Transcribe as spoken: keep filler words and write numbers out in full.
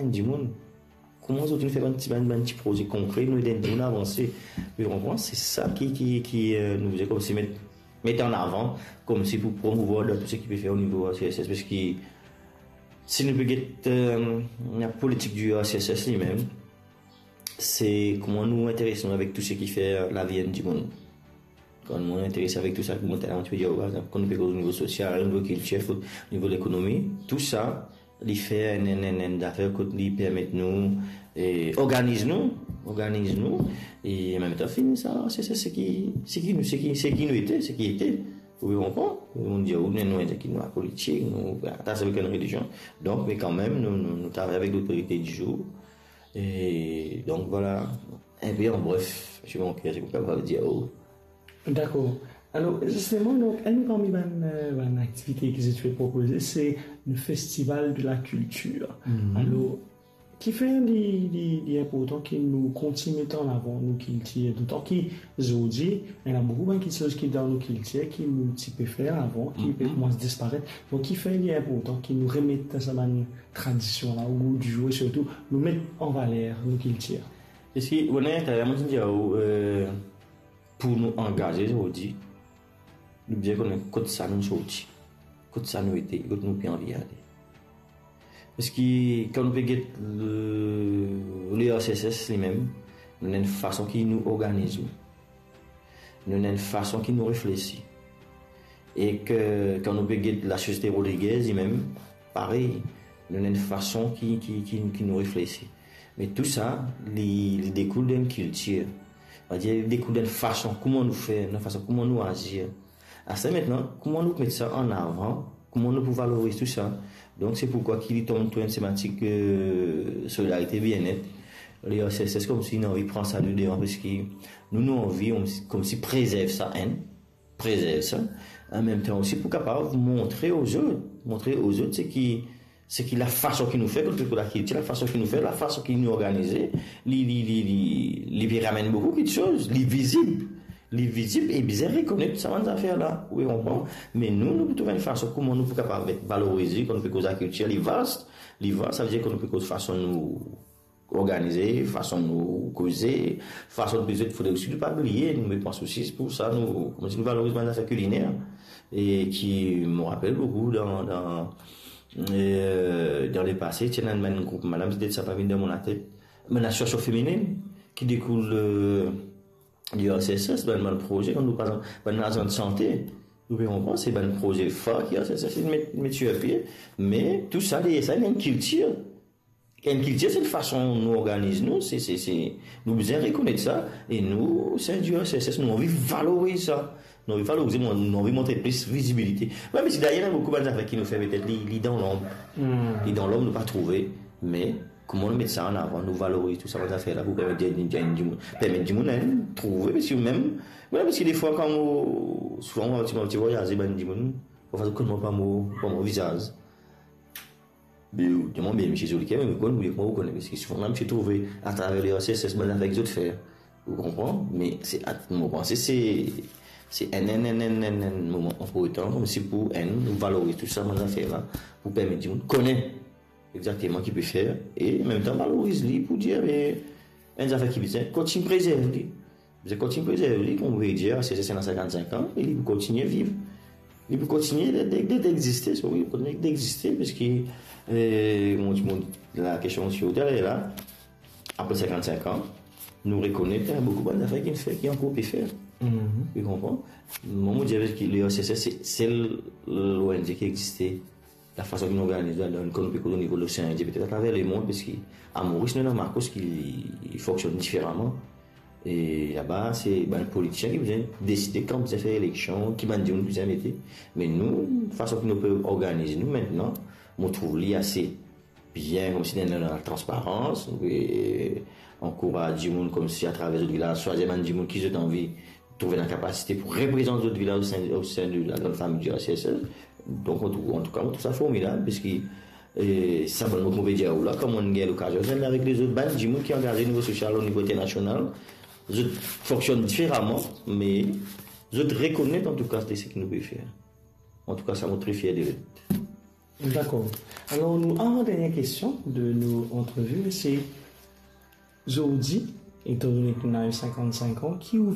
enn dimoun. Kouma zot inn fer bann ti, bann, bann ti proze konkre, nou ed enn dimoun avanse. Ou konpran? Se sa ki, ki, ki, eh, nou bizin koumsi met, met an avan, koumsi pou promouvwar dan tou seki pe fer o nivo R C S S, parski si nou pe get, eh, lapolitik di R C S S limem, se kouma nou interes nou avek tou seki fer lavi enn dimoun. Kan nou interes avek tou sa, kouma talor ti pe dir, par exanp, kan nou pe koz o nivo sosial, o nivo kiltir, o nivo lekonomi, tou sa, li fer enn, enn, enn, enn zafer kot li permet nou, eh, organiz nou, organiz nou, e an mem tan fini sa, se, se, seki, seki nou, seki, seki nou ete, seki ete. Ou konpran? Ou dir, ou, nou, nou, nou, nou politik, nou, atas avek enn relizion. Donk, me kanmem, nou, nou, nou travay avek lotorite di zour. E donk, vwala, enn pe an bref, si mon ker, si mo kapav dir, oh. Dakor. Alor, zisteman, donk, enn parmi bann, eh, bann aktivite ki zot pe propoze, se le Festival de la Culture. Mhm. Alor, kifer li, li, li inportan ki nou kontign met an avan nou kiltir, dotan ki zordi, ena boukou bann kiksoz ki dan nou kiltir ki nou ti pe fer avan, ki pe Mhm. koumans disparet. Donk, kifer li inportan ki nou remet sa bann tradision la o gou di zour e sirtou nou met an valer nou kiltir? Parski, ou kone, taler mo ti dir, eh, pou nou angaze zordi, nou bizin kone kot sa nou sorti, kot sa nou ete, kot nou pe anvi ale. Parski kan nou pe get le, le R C S S limem, nou ena enn fason ki nou organiz nou. Nou ena enn fason ki nou reflesi. E ke kan nou pe get lasosiete Rodriguez limem, parey, nou ena enn fason ki, ki, ki, ki nou reflesi. Me tou sa, li, li dekoul dan enn kiltir. Savedir, li dekoul dan enn fason kouma nou fer, dan enn fason kouma nou azir. Aster aster, kouma nou pou met sa an avan, kouma nou pou valoriz tou sa. Donk, se poukwa ki li tom tou enn tematik, eh, solidarite, bienet. Le R C S S koumsi inn anvi pran sa de devan, parski nou, nou anvi, koumsi, koumsi prezerv sa, enn, prezerv sa. An mem tan osi pou kapav montre ozot, montre ozot seki, seki lafason ki nou fer, kot, kot lakiltir, lafason ki nou fer, lafason ki nou organize, li, li, li, li, li pe ramenn boukou kiksoz, li vizib. Li vizib e bizin rekonet sa bann zafer la. Ou konpran? Me nou, nou pou trouv enn fason kouma nou pou kapav valorize, kan nou pe koz lakiltir, li vas, li vas, savedir kan nou pe koz fason nou organize, fason nou koze, fason nou bizin, fode osi nou pa bliye, nou met pans osi pou sa, nou, koumsi nou valoriz bann zafer kiliner, e ki, mo rapel boukou dan, dan, eh, dan lepase, ti ena enn group madam, ti ena sa pa vinn dan mo latet, bann asosiasion feminin ki dekoul, eh, di R C S S, bann, bann proze, kan nou, par exanp, bann lazan de sante, nou pe konpran, se bann proze far ki R C S S inn met, met sir pie, me tou sa, deryer sa, ena enn kiltir. Enn kiltir, se fason nou organiz nou, se, se, se, nou bizin rekonet sa, e nou, se enn di R C S S, nou anvi valoriz sa. Nou anvi valorize, nou, nou anvi montre plis vizibilite. Wi, me si dayer, ena boukou bann zafer ki nou fer, petet li, li dan lonb. Hmm. Li dan lonb, nou pa trouve, me kouma nou met sa an avan, nou valoriz tou sa bann zafer la pou permet di, di, di, permet dimoun, enn, trouve, parski mem, wi, parski defwa, kan mo, souvan, mo ti, mo ti vwayaze, bann dimoun, parfwa, zot konn mwa pa mo, pa mo vizaz. Be, ou demann, be, misie Zoliker, me mo konn, wi, mo konn, parski souvan, misie trouve atraver le R C S S, bann zafer ki zot fer. Ou konpran? Me se, mo panse se, se enn, enn, enn, enn, enn, enn moman inportan, koumsi pou enn, nou valoriz tou sa bann zafer la, pou permet dimoun kone exakteman ki pe fer, e an mem tan valoriz li pou dir, be, enn zafer ki bizin kontign prezerv li. Bizin kontign prezerv li, kouma mo dir, se, se ena sinkant-sink an, e li pou kontigne viv. Li pou kontigne de, de, de, d'existe, so wi, kontigne d'existe, parski, eh, mo, mo, lakestion ki ou ete la, apre sinkant-sink an, nou rekonet, eh, boukou bann zafer ki nou fer, ki ankor pe fer. Mhm. Ou konpran? Mwa, mo dir, parski le R C S S, se sel O N G ki existe, lafason ki nou organize, dan, dan, kan nou pe koz o nivo Losean Indien, petet atraver lemond, parski a Moris, nou ena Makos ki fonksionn diferaman. E laba, se bann politisien ki bizin deside kan bizin fer eleksion, ki bann dimoun bizin mete. Me nou, fason ki nou pe organize nou aster, mo trouv li ase bien, koumsi dan, dan latransparans, nou pe ankouraz dimoun koumsi atraver zot vilaz, swazir bann dimoun ki zot anvi trouve lakapasite pou reprezant zot vilaz o sein, o sein de la grande famille du R C S S. Donk, an tou, an tou ka, mo trouv sa formidab, parski, eh, sa bann mo pe dir ou la, kan mo gagn lokazion zwenn avek lezot bann dimoun ki angaze o nivo sosial, o nivo internasional, zot fonksionn diferaman, me zot rekonet, an tou ka, de seki nou pe fer. An tou ka, sa, mo tre fier de zot. Dakor. Alor, nou avan dernie kestion de nou antrevi, se zordi, etandone ki ou ena sinkant-sink an, ki ou